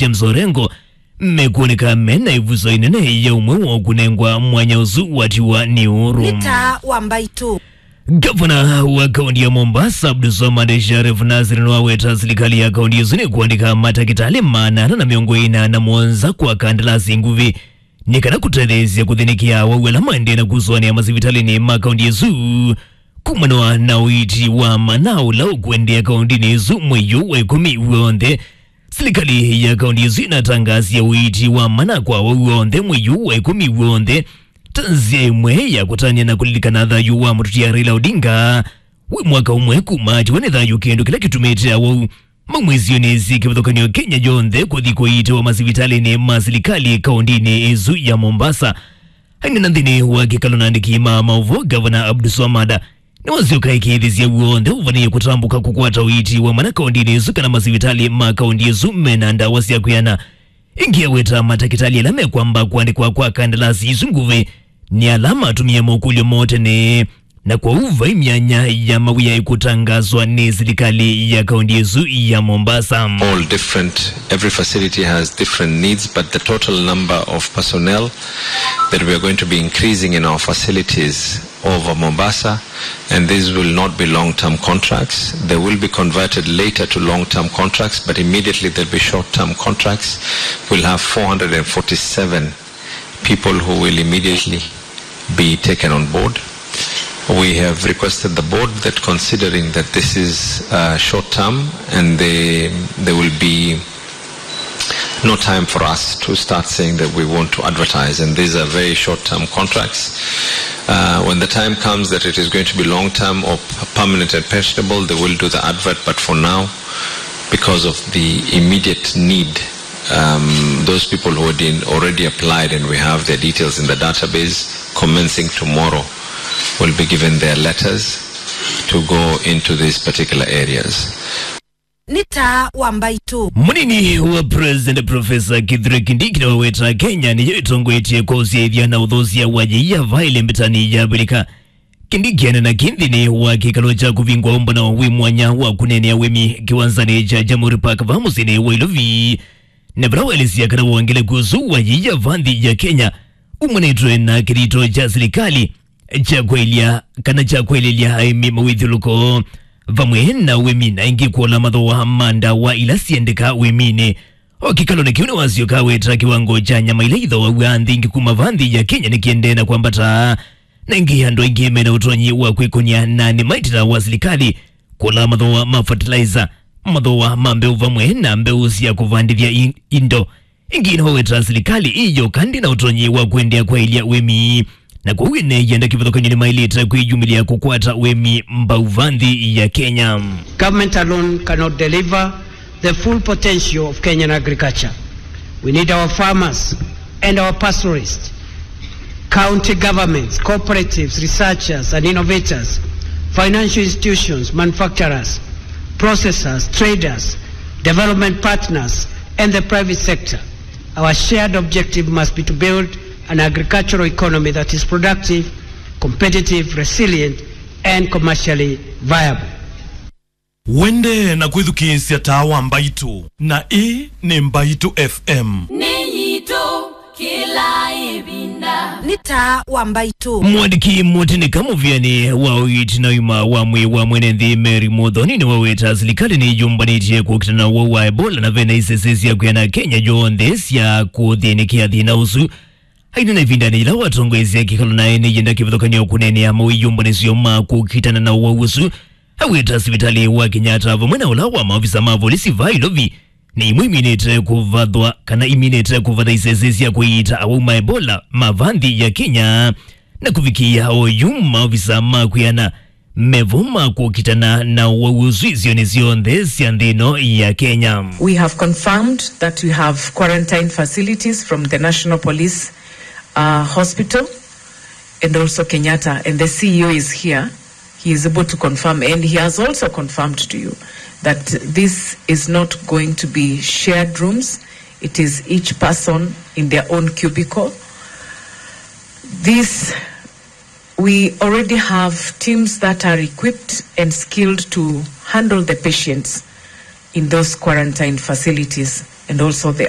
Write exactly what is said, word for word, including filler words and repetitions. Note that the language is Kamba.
James Orengo, mekwoneka mena ĩvuso ĩnene ya ũmwe woo kũnengwa mwanya ũsu watiwa nĩ ũru. Nĩ taa wa mbaitũ. Gavana wa kaunti ya Mombasa, Abdulswamad Sharif Nasir, nĩwaweta silikali ya kaunti ĩsu nĩkũandĩka matakĩtalĩ maana ana na mĩongo ĩna na mũonza kwa kandalasi nguvĩ nĩ kana kũtetheesya kũthĩnĩkĩa awau ala maendee na kũsũanĩa masivitalĩnĩ ma kaunti ĩsu kumana na ũiiti wa mana ũla ũkũendeea kauntinĩ ĩsu mwei ũyũ wa ĩkũmi w'onthe. Silikali ya kaunti ĩsu ĩnatangaasie ũiiti wa mana kwa awau onthe mwei ũũ wa ĩkũmi w'onthe ta nzĩa ĩmwe ya kũtanĩa na kũlilikana thayũ wa mũtũtia Raila Odinga wĩ mwaka ũmwe kuma atiwa nĩ thayũ, kĩndũ kĩla kĩtumĩte awau maumĩsyo nĩ syĩ kĩvathũkany'o Kenya yonthe kũthi kũiitĩwa masivitalĩnĩ ma silikali kauntinĩ ĩsu ya Mombasa. Aineena nthĩnĩ wa kĩkalo na andĩki ma maũvoo, Gavana Abdulswamad nĩwasyoka ĩkĩĩthĩsya w'onthe ũvanĩĩe kũtambũka kũkwata ũiiti wa mana kauntinĩ ĩsu kana masivitalĩ ma kaunti ĩsu mena ndawa sya kwĩana. Ĩngĩ aweta matakĩtalĩ ala mekwamba kũandĩkwa kwa kandalasi isu nguvĩ nĩ ala matũmie mokũlyo moo tene, na kwoou vai myanya ya mawĩa ĩkũtangaswa nĩ silikali ya kaunti ĩsu ya Mombasa. All different, every facility has different needs, but the total number of personnel that we are going to be increasing in our facilities over Mombasa, and these will not be long-term contracts. They will be converted later to long-term contracts, but immediately they'll be short-term contracts. We'll have four hundred forty-seven people who will immediately be taken on board. We have requested the board that, considering that this is, uh, short-term and they, there will be no time for us to start saying that we want to advertise, and these are very short-term contracts. Uh, when the time comes that it is going to be long-term or p-, permanent and pensionable, they will do the advert, but for now, because of the immediate need, um, those people who had been already applied and we have their details in the database, commencing tomorrow, will be given their letters to go into these particular areas. Nĩ taa wa mbaitũ. Mũnini wa President Professor Kithure Kindiki nĩwaweta Kenya nĩyo ĩtongoetye kwa ũsyaĩthya na ũthũsya wa yĩia vaĩle mbĩtanĩ ya Avilika. Kindiki aneena kĩĩ nthĩnĩ wa kĩkalo kya kũvingwa ũmbano wĩ mwanya wa kũneenea ũĩmi kĩwanzanĩ kya Jamhuri Park vaa mũsyĩnĩ wa Ilovi. Na vala waelesya kana wongeleku ũsu wa yĩia vaa nthĩ ya Kenya umanĩtwe na kĩthito kya silikalĩ kya kwaĩlya kana kya kwaĩlĩlya aĩmi mawĩthyũlũko vamwe na ũĩmi na ĩngĩ kũola mathooa ma ndawa ila siendeka ũĩminĩ. O kĩkalonĩ kĩu nĩwasyoka aweta kĩwango kya nyama ila ithooaw'a nthĩ ingĩ kuma vaa nthĩ ya Kenya nĩkĩendee na kwambata, na ĩngĩ andũ aingĩ mena ũtonyi wa kwĩkũnĩa na nĩmaitĩla wa silikalĩ kũla mathooa ma fertilizer, mathooa ma mbeũ vamwe na mbeũ sya kũvandĩthya i-, indo. Ĩngĩ nĩwaweta silikalĩ ĩyoka ndĩ na ũtonyi wa kũendeea kwaĩlya ũĩmi, na kwoou ene yenda kĩvathũkany'o nĩmaĩlĩte kwĩyumĩlya kũkwata ũĩmi mbau vaa nthĩ ya Kenya. Government alone cannot deliver the full potential of Kenyan agriculture. We need our farmers and our pastoralists, county governments, cooperatives, researchers and innovators, financial institutions, manufacturers, processors, traders, development partners, and the private sector. Our shared objective must be to build an agricultural economy that is productive, competitive, resilient, and commercially viable. Wendee na kwĩthukĩĩsya Taa wa Mbaitũ, na ĩĩ nĩ Mbaitũ F M. Nĩ yitũ kĩla ĩvinda. Nĩ Taa wa Mbaitũ. Mwandĩki mũtĩnĩka mũvĩanĩ wa ũiiti na ũima wa mwĩĩ wa mwene nthĩ Mary Muthoni nĩwaweta silikalĩ nĩyũmbanĩtye kũkitana na ũwau wa Ebola na vena isese sya kwĩana Kenya yonthe sya kũthĩnĩkĩa thĩna ũsu. Aineena ĩvindanĩ yĩla watongoesya kĩkalo na ene yenda kĩvathũkany'o kũneenea mawĩyũmbanĩsyo ma kũkitana na ũwau ũsu, aweta sivitalĩ wa Kenyatta vamwe na ũla wa maovisa ma volisi vaa Ilovi nĩ imwe iminĩte kũvathwa kana iminĩte kũvatha isese sya kũiita awau ma Ebola ma vaa nthĩ ya Kenya, na kũvikĩĩa oyu maovisa ma kwĩana mevo ma kũkitana na ũwau ũsu isionĩ syonthe sya nthĩ ĩno ya Kenya. We have confirmed that we have quarantine facilities from the National Police, uh, Hospital and also Kenyatta, and the C E O is here. He is able to confirm, and he has also confirmed to you that this is not going to be shared rooms. It is each person in their own cubicle. This We already have teams that are equipped and skilled to handle the patients in those quarantine facilities. and also the